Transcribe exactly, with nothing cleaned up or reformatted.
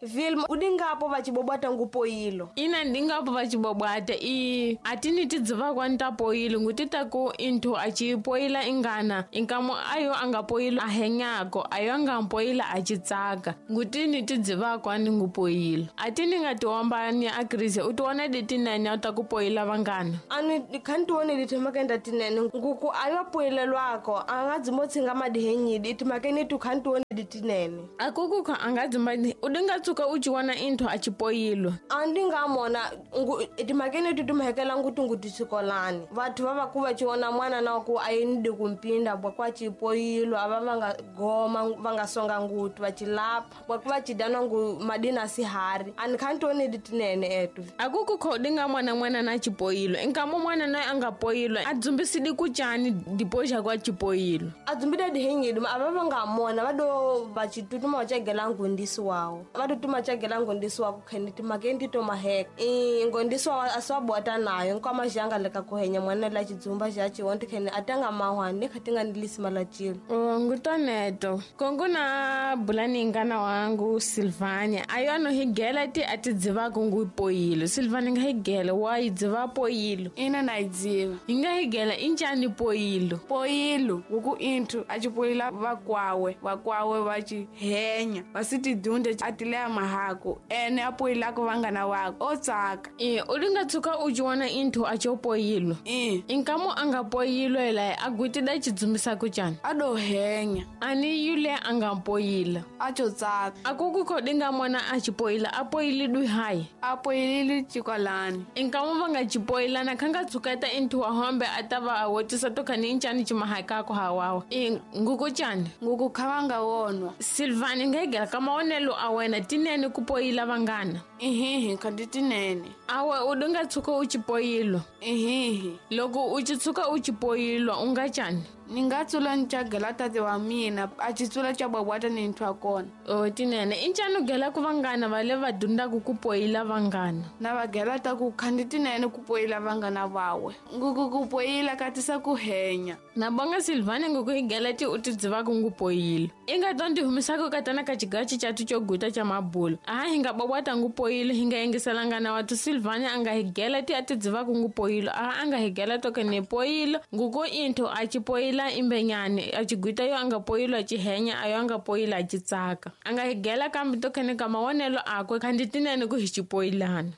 Vilma udingapo vacibobwata ngupoyilo. Ina ndingapo vacibobwata i atini tidziva kwani poyilo ngutita ku inthu acipoyila ingana inkamo ayo angapoyilo ahenyako ayo angampoyila acitsaka ngutini tidziva kwani ngupoyilo atini ngatiwombani akrise utiwona ditinene utakupoyila vangana. Ani khantiwone ditimakenda tinene nguku ayo poyilelwako angadzimotsinga madihenyidi itimakeni tu khantiwone ditinene. Akukukho angadzimba udingatsuka uciwona inthu acipoyilwa. Andingamona ngu itimakeni tu timhekela nguti ngutisikolani vathu va va ku va ciwona mwana na ku a yini kumpinda bwa kwa cipoyilo ava va nga goma va nga songa nguti va cilapha bwa ku va cidana ngu madina sihari ani khantiwone ditinene etu. Akukukho udingamona mwana na cipoyilo inkamo mwana naye angapoyilwa adzumbisidi kucani dipoxa kwa cipoyilo. Adzumbida dihenyidi ava va nga mona va do va citutuma va cagela ngondisi wawo va tutuma cagela ngondisi wa kukheni timakeni to maheka i ngondisi wawo a swa bota nayo nkwama xanga leka ku henya mwana la xidzumba xa xiwonti kheni a tanga mahwani kha tinga nilisima la cilo. Ngutoneto kongo na bulani ngana wangu Silvania ayo ano higela ti a ti dzivako ngupoyilo. Silvania nga higela wa yi dziva poyilo. Ina na yi dziva. Hi nga higela i njhani poyilo? Poyilo wuku inthu a cipoyila vakwawe vakwawe va ci henya va si tidunde a tileya mahako ene a poyilako vangana wako o tsaka. E u linga tshuka u ciwona inthu a co poyilo. E inkamo a nga poyilo hilaye a gwitida cidzumbisako cani? A do henya. Ani yule a nga poyila a co tsaka. Akukukho dinga mona a cipoyila a poyilidwi hayi? A poyilili cikolani. Inkamo va nga cipoyilana kha nga tshuketa inthu wa hombe a ta va a wotisa to khani incani cimahakako hawawa. E nguku cani? Nguku kha va nga wonwa. Silvani nga higela ka mawonelo a wena tinene ku poyila vangana? Ihihi khandi tinene. Awe u dinga tshuka u cipoyilwa? Ihihi. Loko u ci tshuka u cipoyilwa u nga cani? Ni nga tsula ni cagela tate wa mina a ci tsula ca bwabwata ni nthu wa kona. O tinene i ncani u gela ku vangana va le va dundaku ku poyila vangana? Na va gela ta ku khandi tinene ku poyila vangana vawe nguku ku poyila ka tisa ku henya. Na bonga Silvani nguku hi gela ti u ti dzivako ngu poyilo. I nga to ndi humisako katana ka cigaci catu co guta ca mabulo aha hi nga bwabwata ngu poyilo hi nga yengiselangana watu. Silvani a nga hi gela ti a ti dzivako ngu poyilo aha a nga hi gela toke ni poyilo nguku inthu a ci poyila imbenyani a cigwita yo a nga poyilo a ci henya ayo a nga poyila a ci tsaka. A nga hi gela kambe tokhene ka mawonelo akwe khandi tinene ku hi cipoyilana.